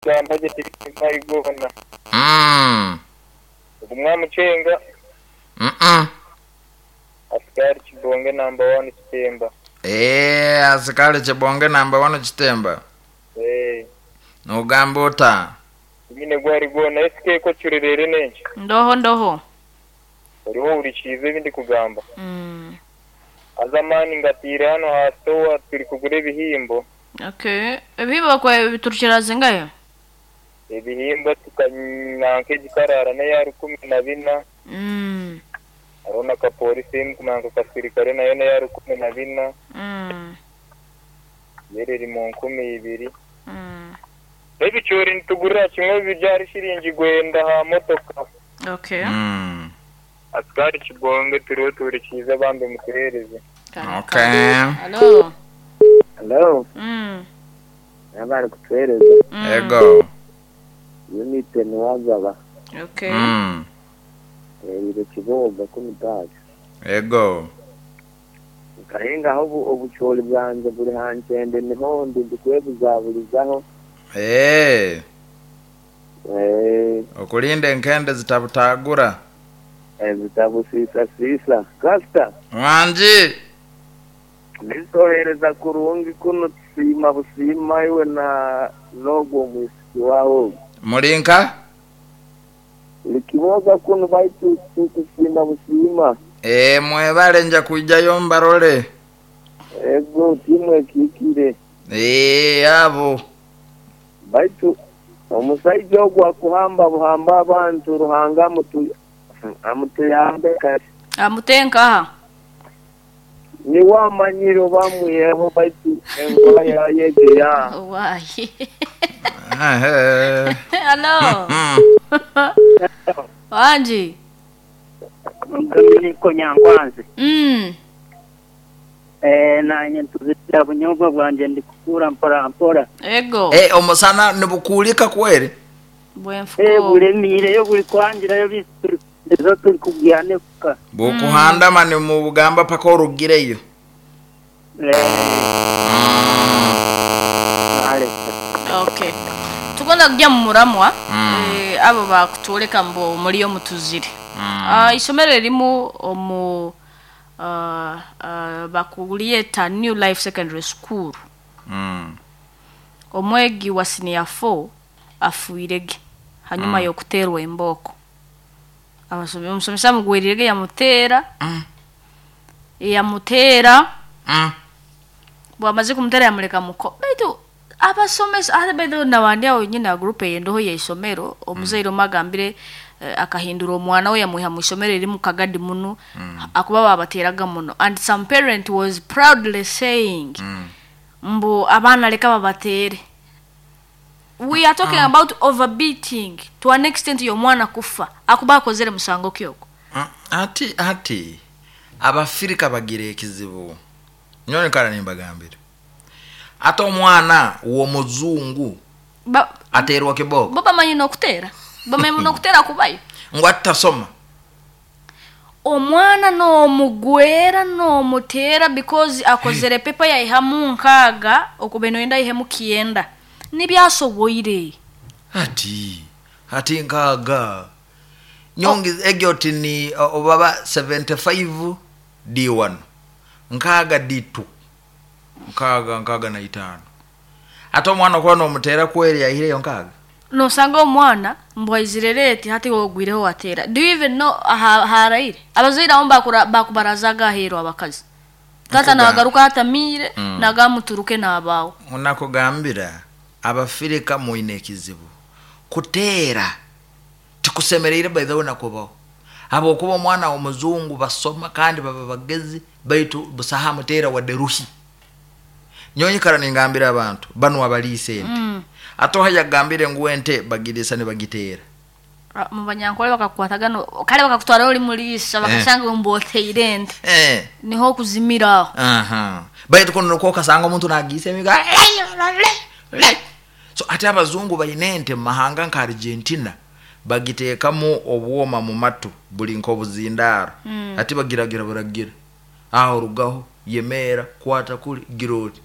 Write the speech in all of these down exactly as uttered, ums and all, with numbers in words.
Gamba gye tiri gona. Mm. Ogumwamucenga Mm-mm. asikari Kibonge namba one Kitemba. Eh, asikali Kibonge namba one Kitemba. Eh, Nogamba ota? Nyine gwari gona S K ko kirerere nenki. Ndoho ndoho. Oriho urikize ibindi kugamba. Mm. Azamani ngatire hano hastowa turi kugura ebihimbo. Okay. Ebihimbo kwa biturukira zingayo? Ebihimbo tukananka egikarara na ya rukumi na bina. Mm. Arona ka polisi nkumanka kasirikare nayo na ya rukumi na bina. Mm. Yereri mu nkumi ibiri. Mm. Ebicyori ntugurira kimwe bibyara shiringi gwenda ha motoka. Okay. Mm. Asikari Kibonge turiho turikiza bambe mutuhereze. Okay. Hello. Hello. Mm. Nabari kutuhereza. Mm. Ego. Unite niwazaba. Okay. Mm. Ire Kiboga kumitaje. Ego. Karenga aho obucyori bwanjye buri hankende niho ndi ndikwebuzabulizaho. Eh. Eh. Okulinde enkende zitabutagura. Eh, zitabusisa sisa. Kasta. Wanji. Nisohereza kurungi kuno tusima busima iwe na logo mwisiki wawo. Mulinka? Likiboga kuno baitu tusima busima. Eh, mwebale nja kujayo mbarole. Ego timwe kikire. Eh, abo. Baitu omusajja ogwo akuhamba buhamba abantu Ruhanga amutu amutuyambe kati. Amutenka. Ni wamanyiro bamwiyeho baitu enkola yayegeya. Wayi. Ehe. Hello. Wanji. Niko Nyankwanzi. Mm. Eh, nanye ntuzira bunyobwa bwanje ndikukura mpora mpora. Ego. Eh, omusana nibukulika kweri? Bwenfuko. Eh, bulemire yo buli kwangira yo bisuri. Ezo turi kugyane kuka. Bukuhanda mani mu bugamba paka orugireyo. Eh. Ale. Okay. Tugomba kujya mu muramwa. Mm. Eh, abo bakutoleka mbo muri yo mutuzire. Mm. Ah, isomero rimu omu uh, uh, bakulieta New Life Secondary School. Mm. Omwegi wa senior four afuirege hanyuma mm. yokuterwa emboko. Abasomi omusomesa mugwirirege yamutera. Mm. Yamutera. Mm. Bwamaze kumutera yamuleka muko. Baitu abasomesa ate baitu nabandi awo nyina group yendoho ya isomero omuzaire magambire eh, akahindura omwana we yamuha mu isomero eri mu kagadi muno mm. akuba babateraga muno, and some parent was proudly saying mm. mbu abaana leka babatere. We are talking mm. about overbeating to an extent y'omwana kufa akuba akozere musango kyoko. Mm. Ati ati abafirika bagira ekizibu nyone kala nimbagambire ate omwana w'omuzungu Ba- aterwa kiboko bo bamanyi n'okutera bamanyi n'okutera kubayo ngo atasoma omwana n'omugwera n'omutera because akozere pepa yaihamu nkaaga okuba noyenda aihemu kyenda nibyasoboire ati ati nkaaga nyongi egyo oti ni obaba seventy-five D one nkaaga D two nkaaga nkaaga na itaano ate omwana okuba n'omutera kweri yaihireyo nkaaga nosanga omwana mbwaizire eti hati wogwireho watera. Do you even know ha haraire abazaire abo bakura bakubarazaga ahero abakazi tata Nkuga- nagaruka hatamire Mm. nagamuturuke n'abawo. Nakugambira abafirika muine ekizibu kuteera tikusemereire by the way nakubaho habwokuba omwana w'omuzungu basoma kandi baba bagezi baitu busaha muteera wadde ruhi nyonyikara ningambira abantu bano abaliisa ente Mm. ate oha yagambire ngu ente bagiriisa ne bagiteera. Ah, mu banyankole bakakwataga no kale bakakutwara oli muliisa bakasanga mboteire ente Eh. niho okuzimira aho. Aha. Baitu kuno nokwo okasanga omuntu nagiisa emiga so ate abazungu balina ente mu mahanga nka Argentina bagiteekamu obwoma mu matu buli nk'obuzindaaro Mm. ate bagiragira buragira aho orugaho yemeera kwata kuli gira oti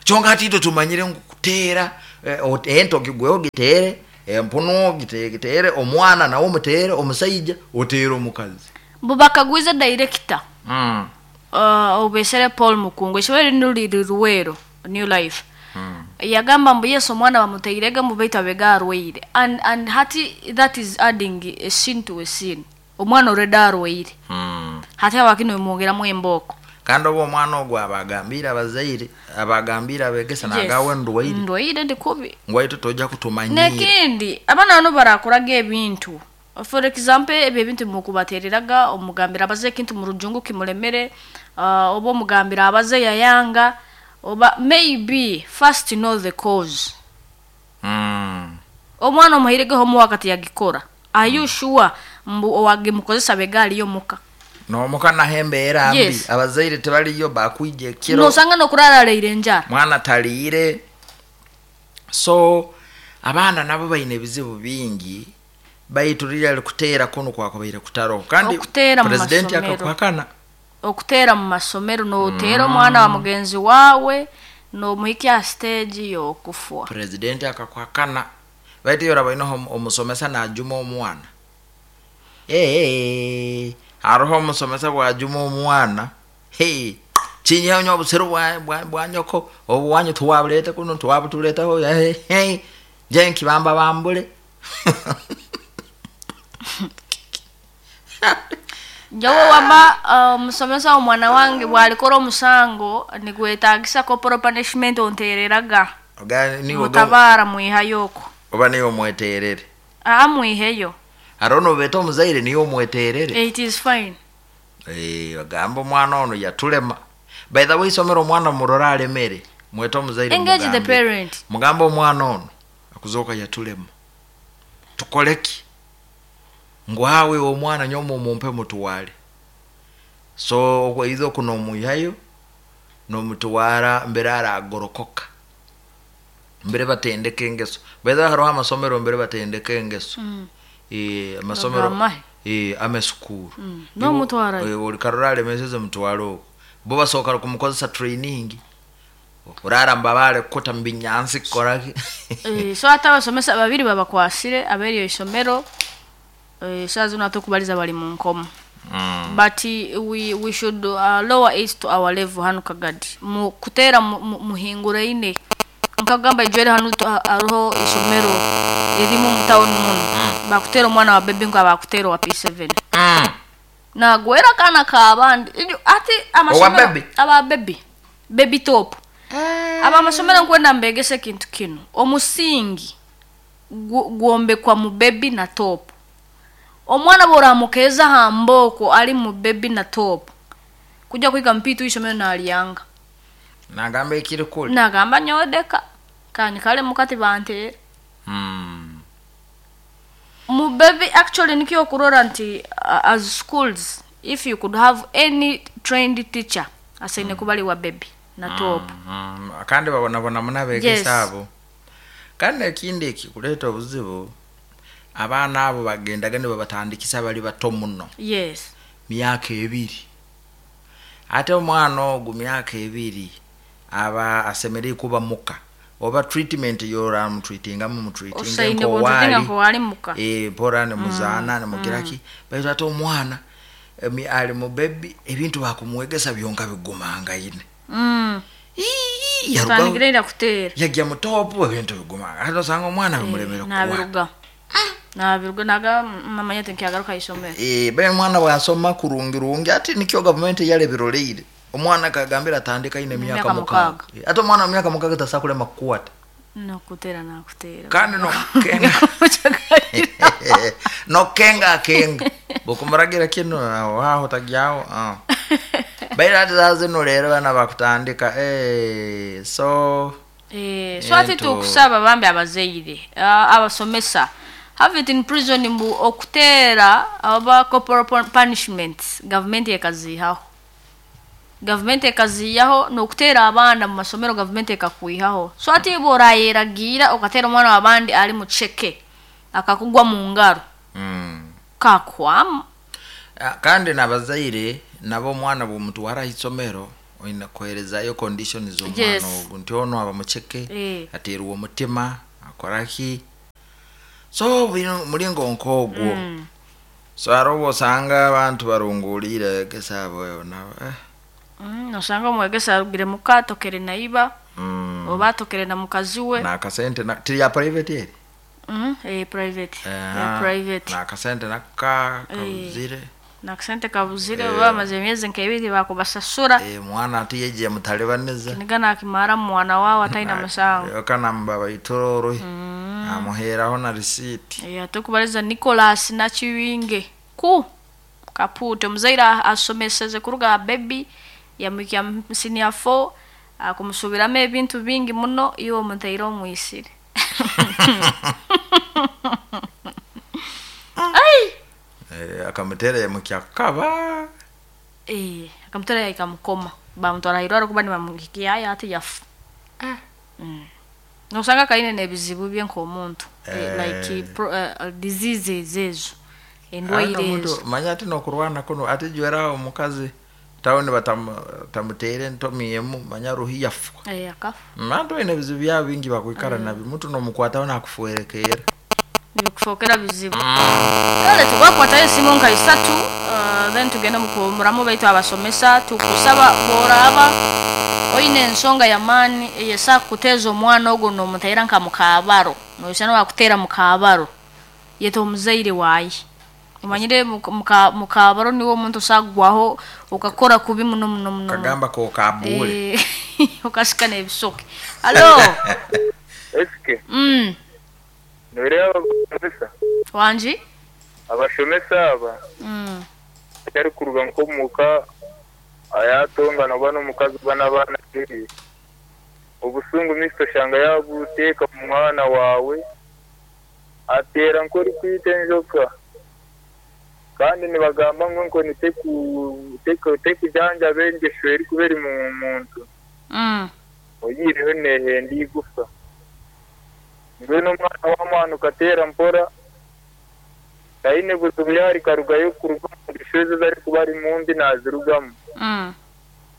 kyonka ate itwe tumanyire ngu Teera eh, ot- ente ogigweho giteere, empunu ogite- giteere, omwana nawe omuteere, omusaija oteere omukazi. Mbu bakagwize director Mm. uh, obesere Paul Mukungu, isomero lino liri Luweero, New Life. Mm. Yagamba mbu yes, omwana bamuteirege mbu baitu abega arwaire, and, and hati that is adding a sin to a sin. Omwana already arwaire, Mm. hati abakino bimwongeramu embooko. Kandi oba omwana ogwo abagambiire abazaire, abagambiire abegesa, nagawe ndwaire. Ndwaire, ndi kubi. Ngwaitu tojja kutumanyiira. Nekindi, abaana bano barakoraga ebintu, for example ebyo ebintu mukubatereraga, omugambira abaze ekintu mu rujungu kimulemere, uh, oba omugambira abaze yayanga, oba maybe first know the cause. Mm. Omwana omuhiregeho homework tiyagikora, are you sure mbu owagimukozesa bega aliyo muka? N'omuka naho embeera mbi. Yes. Abazaire tebaliyo, bakwija ekiro. Nosanga nokurara aleire enjara. Mwana taliire. So abaana nabo balina ebizibu bingi, baitu lirya likuteera kuno kwakubaire kutaroho kandi Okuteera mu pulezidenti masomero. akakuhakana. Okuteera mu masomero, noteera omwana wa mugenzi waawe, nomuhikya stage y'okufwa. Pulezidenti akakuhakana, baitu iyo oraba inoho omusomesa najuma omwana. Ee, hariho omusomesa bwajuma omwana, hey, kinyeho obusiru bwa, bwa, bwa nyoko, obuwanyu tuwabulete kuno, tuwabutuletaho, hey, hey, nje nkibamba bambule. Njowe wama omusomesa, omwana wange bwalikora omusango nigwetagisa corporal punishment, ontereraga. Oga- niwe oga- Mutabaara mwihayo okwo. Oba niwe omweterere. Aa, mwiheyo. Hariho nobeta omuzaire niwe omweterere. It is fine. Eh, bagamba omwana ono yatulema. By the way, isomero omwana murora alemere, mwete omuzaire. Engage the mugambe. parent. Mugambe omwana ono akuzoka yatulema, tukoleki? Ngwawe omwana nyomo mumpe mutuwale. So okwo kuno omwihayo nomutwara mbere aragorokoka, mbere batendeka engeso. By the way, hariho amasomero mbere batendeka engeso. Mm. Eh, amasomero. Bagamahe. Eh, amesukuru. Mm. Nomutwarayo. Eh, olikarora alemeseze, mutwale okwo, bo basoboka kumukozesa training, urara mbabale kuta mubinyansi kukoraki. Eh, so ate abasomesa babiri babakwasire aberyo isomero. Eh, saa zino ate okubaliza bali mu nkomo. Mm. But eh, we, we should uh, lower it to our level hanu Kagadi mu kuteera mu- mu- muhinguraine. Nkagamba ijwere hanu tu- ha- hariho isomero erimu mu town muno, bakuteera omwana wa baby nga bakuteera owa P seven. Mm. Nagwera kana kabandi. Ijo- ati amasomero Owa baby? Aba baby, baby top. Aba amasomero, nkwenda mbegese ekintu kino: omusingi gu- gwombekwa mu baby na top. Omwana bworamukeza hamboko ali mu baby na top, kujja kwiga mpitu isomero nalyanga. Nagamba ekiri kuli. Nagamba nyodeka kani kale mukati banteera. Mm. Mu baby actually nikyo okurora nti uh, as schools, if you could have any trained teacher asaine kuba wa baby na top. Mm. Kandi babonabona muno abegesa Yes. abo. Kandi ekindi ekikuleeta obuzibu, abaana abo bagendaga nibabatandikisa bali bato muno. Yes. Myaka ebiri, ate omwana ogwo myaka ebiri aba asemereire kuba muka, oba treatment yoramutreatingamu, mutreatinge osaine nkowaali. kuntutinga nkowali muka. Eh, mpora nemuzaana, nemugiraki, baitu ate omwana emi- ali mu baby, ebintu bakumwegesa byonka bigumangaine. Mm. Ii, yarugaho Tutandikire ira kuteera. yajja mu top, ebintu bigumanga, ate osanga omwana bimuremere kukwata. Nabiruga nabiruga naga mamanya tinkyagaruka isomero. Eh, bae omwana bwasoma kurungirungi, ate nikyo gavumenti yalebiroleire, omwana kagambira atandika ine emyaka Myaka mukaaga. mukaaga. Eh, ate omwana wa myaka mukaaga tasakulema kukwata. Nokuteera nakuteera. Kandi nokenga nokenga akenga bukumuragira kino aho aho tagyaho ah. Baira ati saa zino leero bana bakutandika, eh, so Eh, so ate Ento. tukusaba bambi abazaire, ah, abasomesa, have it in prison mbu okuteera oba corporal pun- punishment gavumenti ekaziihaho, gavumenti ekaziihaho n'okuteera abaana mu masomero gavumenti ekakwihaho. So ate bw'orayeragiira okateera omwana w'abandi ali mu ceke akakugwa mu ngaro, mm. kakwamu. Ah, kandi nabazaire nabo, omwana bwomutwara isomero Oina kuherezayo condition z'omwana Yes. ogu nti ono aba muceke Eh. ateerwa omutima akoraki so bino mulingo nk'ogwo Mm. So hariho obu osanga abantu barunguliire egesa abo nabo eh. Mm, osanga omwegesa arugire muka atokere naiba Mm. oba atokere na mukazi we. Nakasente na, tiri ya private eri. Mm, eh, private. Eh, Ya private. Nakasente naka Eh. kabuzire. Nakasente kabuzire Eh. oba bamaze emyezi nk'ebiri bakubasasura. Eh, mwana ati yegiye mutalibaniza. Kiniga nakimara mwana wawe ataina musango. Kanamba baitororwe. Mm. Amuheraho na receipt. Eh, ate okubaliza Nicholas Nakiwinge ku Kapuute omuzaire a- asomeseze kuruga baby yamwikya mu senior four akumusubiramu ebintu bingi muno iwe omuteire omwisire. Ai! Eh, akamutera yamukyakaba. Eh, akamutera yakamukoma bamutwara irwaro kuba nibamuhikia aya ati yafu. Mm. Nosanga kaine n'ebizibu bye nk'omuntu. Eh, Eh. like pro, uh, diseases ezo endwaire Ate omuntu ezo. manya ati nokurwana kuno ati jwera omukazi tawuni batamuteire entomi emu manya ruhi yafa. Eh, akafa. Mantu oine ebizibu byabo bingi bakwikara nabyo muntu nomukwataho nakufuherekeera. Nibikufokera bizibu. Kale tukwakwatayo esimu nka isatu uh, then tugende mukuwumuramu baitu abasomesa tukusaba bworaba oine ensonga y'amaani eyesa kuteeza omwana ogwo nomuteera nka mukabaro noyisana wakuteera mukabaro yeta omuzaire waaye omanyire muka- muka- mukabaro niwo omuntu osagwaho okakora kubi muno muno muno. Kagamba kokabuule. Eh, okasika n'ebisoke. Halo. Esike Mm. noreeba abashomesa Wangi? abashomesa aba Mm. atari kuruga nk'omuka ayatongana oba n'omukazi oba n'abaana be obusungu misto shanga yabuteeka mu mwana wawe ateera nk'orikwita enjoka kandi nibagamba ngu enkoni teku- teku- tekujanjaba engesho erikuba eri mu muntu. Mm. Oyireho nehenda igufa mbwenu omwana w'omwana ukateera mpora taine buzibu yari karugayo kuruga omu ngesho ezo ezarikuba ari mumbi nazirugamu. Mm.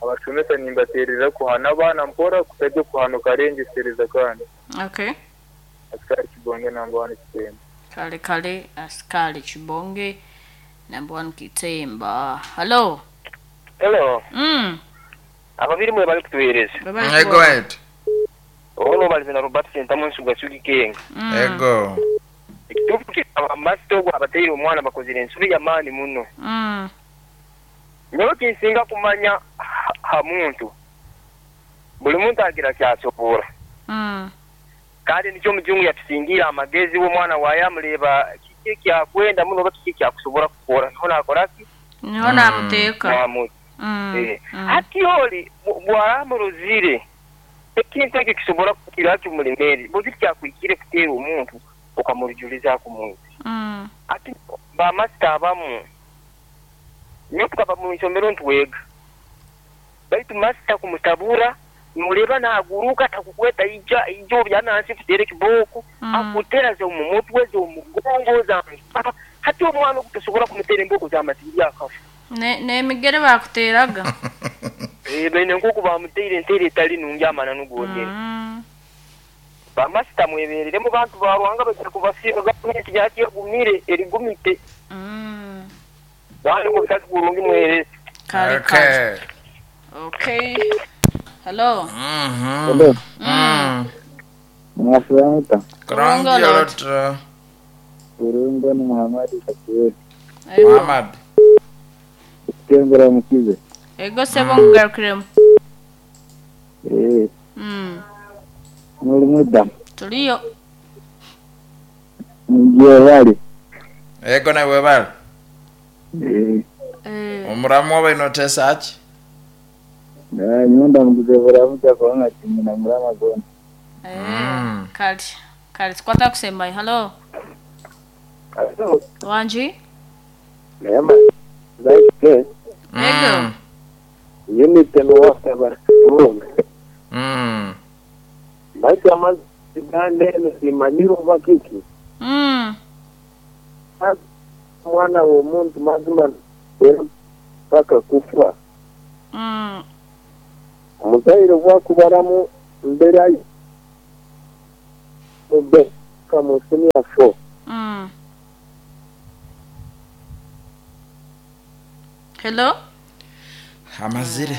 Abashomesa nimbateerera kuhana abaana mpora kutajya kuhana ukarengesereza kandi. Okay. Asikari Kibonge namba one Kitemba. Kale kale asikali Kibonge number one Kitemba. Hello. Hello. Mm. Ababiri mwe bali kutuweereza. Baba Ego waitu. Ono bali na Robert Sentamu nsuga sugi kenga. Mm. Ego. Ekituufu kikaba masito ogwo abateire omwana bakozire ensobi y'amaani muno. Mm. Nyowe kinsinga kumanya ha, ha muntu. Buli muntu agira kyasobola. Mm. Kandi nikyo omujungu yatusingiire amagezi w'omwana waaye amureba kiki ekyakwenda muno oba kiki ekyakusobola kukora. Niho naakora ki? Niho namuteeka. Namuta. Mm. Eh. Mm. Hati oli bwaramurozire ekintu ekyo kisobola kukira kimulemere buli kyakwikire kuteera omuntu okamurujuliza ku Mm. ati bamasita abamu nyo tukaba mu isomero ntwega baitu masita kumutabura nureba naguruka takukweta ija ija obyanansi kutere kiboko Mm. akutera ze mu mutwe ze omugongo za mpaka hati omwana okutosobola kumutera emboko z'amasiri akafa. Ne n'emigere bakuteeraga. Eh, bene nkoku bamuteire enteera etali nungi amana nugwonyene. Mm. Bamasita mwebereremu bantu ba Ruhanga baija kubasiiba gavumenti yakyegumire erigumite. Mm. Bandi mutali kurungi mwerese. Kale kale. Okay. Hello. Mhm. Hello. Mm. Mwafuramuka. Kurungi olotro. Kurungo ni Muhammad Kakiwete. Ego. Muhammad. Kutembera mukize. Ego sebo nkugarukiremu. Eh, Mm. muri muda. Tuliyo. Ngiye bali. Ego nawe webale. Eh, Eh. Omuramu oba inotesa aki? na nyunda mukize buramuka kubanga kimina murama gona. Eh. Mm. Kale. Kale tukwata kusembayo. Hello. Hello. Wangi? Nema. Like Ego. Mm. unit no waka barunga. Mm. Baitu amazi gande simanyiro bakiki. Mm. Mwana w'omuntu mazima paka kufa. Mm. Omuzaire bwakubaramu mbere mube kamu senior four. Mm. Hello? Amazire.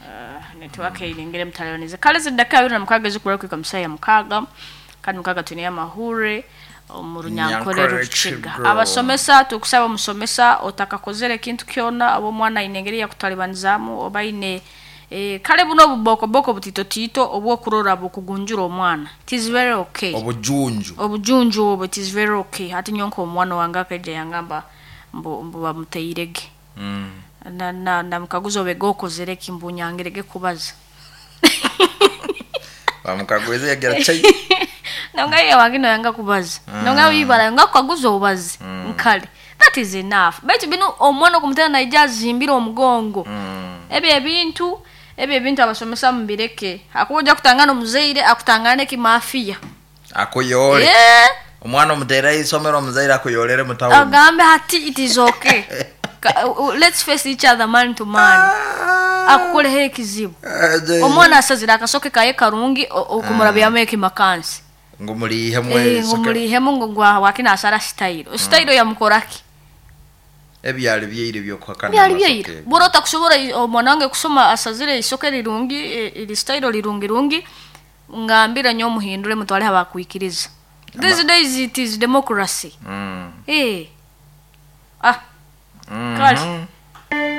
Uh, network ilingire mtalonize. Kale zidaka abiri na mukaga zikura kwika musaya mukaga. Kandi mukaga tuniya mahure omurunyankore Nyankore rukiga. Rukiga. Abasomesa tukusaba omusomesa otakakozere kintu kyona abo mwana inengeri ya kutalibanizaamu oba ine eh, kale buno obubokoboko butitotito obwokurora bukugunjura omwana. It is very okay. Obujunju. Obujunju obwo it is very okay. Hati nyonko omwana wange akaija yangamba mbu mbu bamuteirege. Mm. Na na namukaguza obega okozere ki mbu nyangirege kubaza. Bamukagweze yagira chai. Nonga ye wangino yanga kubaza. Nonga wibala nga kukaguza obazi. Nkale. That is enough. Baitu bino omwana okumutera naija azimbira omugongo. Mm. Ebyo ebintu ebyo ebintu abasomesa mubireke. Akuja kutangana omuzaire akutangane kimafia. Akuyore. Yeah. Omwana omutera isomero omuzaire akuyolere mutawuni. Agambe hati it is okay. Ka- uh, let's face each other man to man. Akukoleho ekizibu. Omwana asazira akasoke kaye karungi o- okumurabyamu ekimakansi. Ngumulihe Eh, mwe. ngumulihemu ngo gwa wakina asara style. Style yamukoraki. Ebyali byeire byokuhakana. Byali byeire. Bora otakusobora i- omwana wange kusoma asazire isoke rirungi eh, iri style rirungi rungi ngambira nyo muhindure mutwale abakwikiriza. These days it is democracy. Mm. Eh. Ah, Mm. kale.